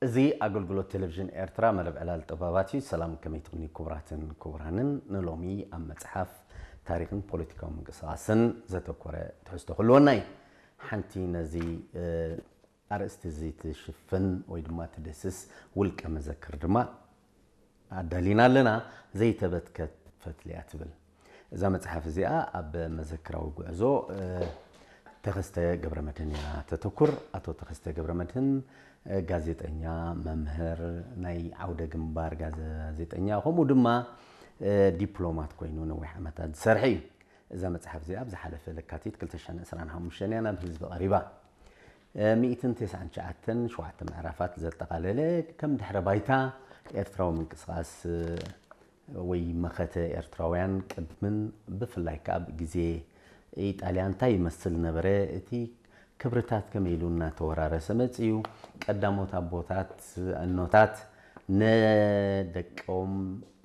እዚ ኣገልግሎት ቴሌቪዥን ኤርትራ መደብ ዕላል ጥበባት እዩ። ሰላም፣ ከመይ ትቕኒ ክቡራትን ክቡራንን? ንሎሚ ኣብ መጽሓፍ፣ ታሪኽን ፖለቲካዊ ምንቅስቓስን ዘተኮረ ትሕዝቶ ክህልወና እዩ። ሓንቲ ነዚ ኣርእስቲ እዚ ትሽፍን ወይ ድማ ትድስስ ውልቀ መዘክር ድማ ኣዳሊና ኣለና። ዘይተበትከት ፈትሊ እያ ትብል። እዛ መጽሓፍ እዚኣ ኣብ መዘክራዊ ጉዕዞ ተኸስተ ገብረመድህን እያ ተተኩር። ኣቶ ተኸስተ ገብረመድህን ጋዜጠኛ፣ መምህር፣ ናይ ዓውደ ግንባር ጋዜጠኛ፣ ከምኡ ድማ ዲፕሎማት ኮይኑ ነዊሕ ዓመታት ዝሰርሐ እዩ። እዛ መጽሓፍ እዚኣ ኣብ ዝሓለፈ ለካቲት ክልተ ሽሕን ዕስራን ሓሙሽተን እያ ናብ ህዝቢ ቀሪባ። ሚእትን ተስዓን ትሽዓተን ሸውዓተ ምዕራፋት ዘጠቓለለ፣ ከም ድሕረ ባይታ ኤርትራዊ ምንቅስቓስ ወይ መኸተ ኤርትራውያን ቅድምን ብፍላይ ከኣ ኣብ ግዜ ኢጣልያ እንታይ ይመስል ነበረ፣ እቲ ክብርታት ከመይ ኢሉ እናተወራረሰ መጺኡ፣ ቀዳሞት ኣቦታት፣ ኣኖታት ንደቆም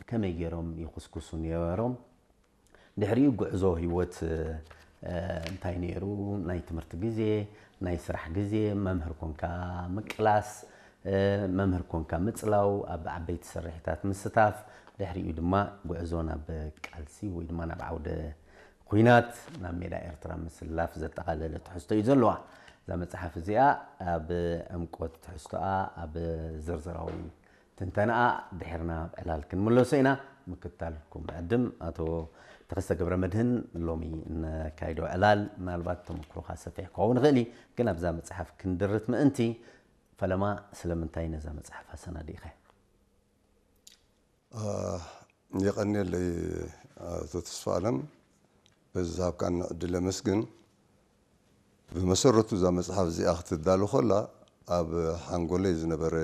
ከመይ ገይሮም ይኹስኩሱ ነይሮም፣ ድሕሪኡ ጉዕዞ ህይወት እንታይ ነይሩ፣ ናይ ትምህርቲ ግዜ፣ ናይ ስራሕ ግዜ፣ መምህር ኮንካ ምቅላስ፣ መምህር ኮንካ ምጽላው፣ ኣብ ዓበይቲ ስርሒታት ምስታፍ፣ ድሕሪኡ ድማ ጉዕዞ ናብ ቃልሲ ወይ ድማ ናብ ዓውደ ኲናት፣ ናብ ሜዳ ኤርትራ ምስላፍ ዘጠቓለለ ትሕዝቶ እዩ ዘለዋ። እዛ መጽሓፍ እዚኣ ኣብ ዕምቆት ትሕዝቶኣ፣ ኣብ ዝርዝራዊ ትንተናኣ ድሕርና ኣብ ዕላል ክንምለሶ ኢና። ምክትታልኩም ዕድም ኣቶ ተኸስተ ገብረ መድህን፣ ሎሚ እነካይዶ ዕላል ምናልባት ተመክሮኻ ሰፊሕ ክኸውን ይኽእል እዩ፣ ግን ኣብዛ መጽሓፍ ክንድርት ምእንቲ ፈለማ ስለምንታይ ነዛ መጽሓፍ ኣሰናዲእኻ? የቐንየለይ ኣቶ ተስፋ ኣለም፣ በዚ ዝሃብካኒ ዕድል ኣመስግን። ብመሰረቱ እዛ መጽሓፍ እዚኣ ክትዳሎ ከላ ኣብ ሓንጎለይ ዝነበረ